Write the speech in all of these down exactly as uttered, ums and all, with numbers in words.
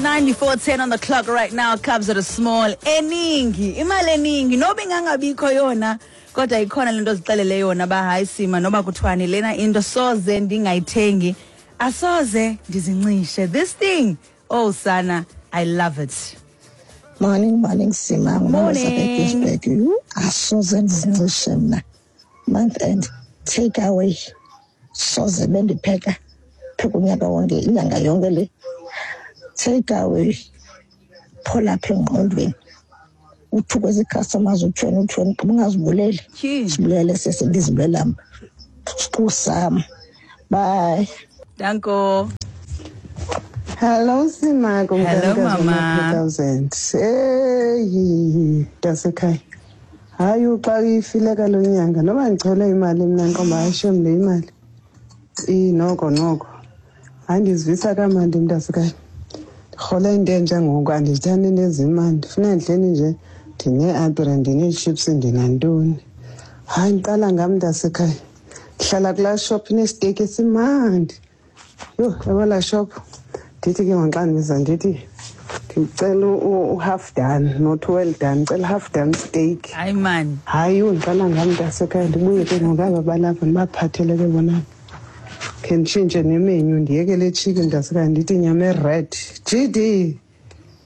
Twenty-nine before ten on the clock right now. Cubs at a small eningi, imali eningi noba ingangabikho yona, kodwa ikhona lento ozixelele yona ba hayi Sima, noba kuthiwani lena into soze ndingayithengi, asoze ndizincishe. This thing, oh sana, I love it. Morning, morning, Sima. Morning. Ginsburg. Asoze ndizincishe mna. Month end take away. Soze bendipheka pheka unyaka wonke, inyanga yonke le. Take away. Phola apha engqondweni. Uthukwe zii-customers, uthweni, uthweni, gqiba ungazibuleli. Tyhini. Sibulele sese ndizibulela mna. Siqu sam. Bye. Danko. Hello Sima, Hello, mama. two thousand. Hey, dasekhaya. Hayi, uxa ifile kalo nyanga noba ndichole imali mna nqomba ayishem le imali. I noko noko. Hayi, ndizivisa kamandi mntasekhaya. Ndirhole into entsha ngoku, andizithandi into ezimandi. Ndifuna ndihleli nje ndinee-apira, ndinee-chips, ndinantoni. Hayi, ndiqala ngam mntasekhaya. Ndihlala kulaa shop inesiteki esimandi. Yho, yabo laa shop. Ndithi ke ngoku xa ndibiza ndithi ndicela u-, u-half done, not well done, ndicela half done steak. Hayi man. Hayi, undiqala ngam mntasekhaya, ndibuye ke ngoku aba balapha ndibaphathele ke bona. Khe nditshintshe nemenyu, ndiyeke le chicken mntasekhaya, ndithi inyama e-red. G D.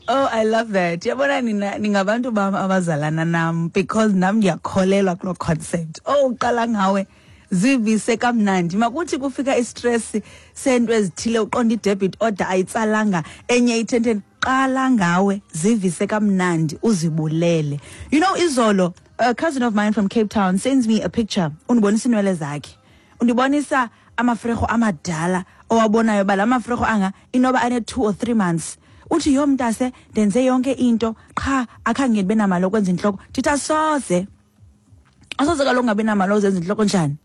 Oh, I love that. Yabona nina ningabantu bam abazalana nam, because nam ndiyakholelwa kuloo concept. Oh, uqala ngawe. Zivise kamnandi. Makuthi kufika i-stress sento ezithile, uqonda i-debit order ayitsalanga, enye ithenteni, qala ngawe, zivise kamnandi, uzibulele. You know, izolo, a cousin of mine from Cape Town sends me a picture. Undibonisa inwele zakhe. Undibonisa amafrego amadala owabonayo ba la mafrego anga inoba ane two or three months. Uthi yo mntase ndenze yonke into qha akhange ndibe namali okwenza intloko. Ndithi asoze. Asoze kaloku ungabi namali ozenza intloko njani?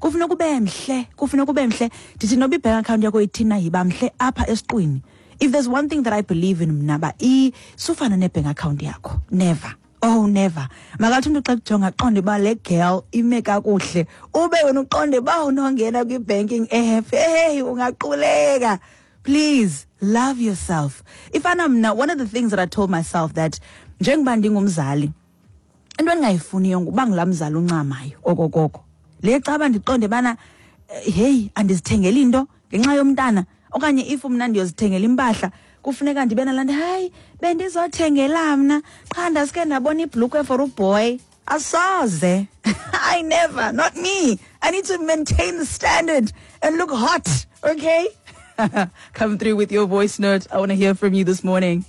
Kufuneka ube mhle, kufuneka ube mhle. Ndithi noba i-bank account yakho ithina yiba mhle apha esiqwini. If there's one thing that I believe in mna ba i sufana ne-bank account yakho. Never. Oh, never. Makathi umntu xa kujonga aqonde uba le girl ime kakuhle. Ube wena uqonde uba unongena kwi-banking app. Hey, ungaquleka. Please, love yourself. Ifana mna, one of the things that I told myself that njengoba ndingumzali, into endingayifuniyo nguba ngulaa mzali uncamayo okokoko. Le caba ndiqonde bana, hey, andizithengeli into ngenxa yomntana, okanye if mna ndiyozithengela impahla kufuneka ndibe nalaa nto, hayi bendizothengela mna qha ndasike ndabona ibhlukhwe for uboy. Asoze. I never, not me. I need to maintain the standard and look hot, okay? Come through with your voice note. I wanna hear from you this morning.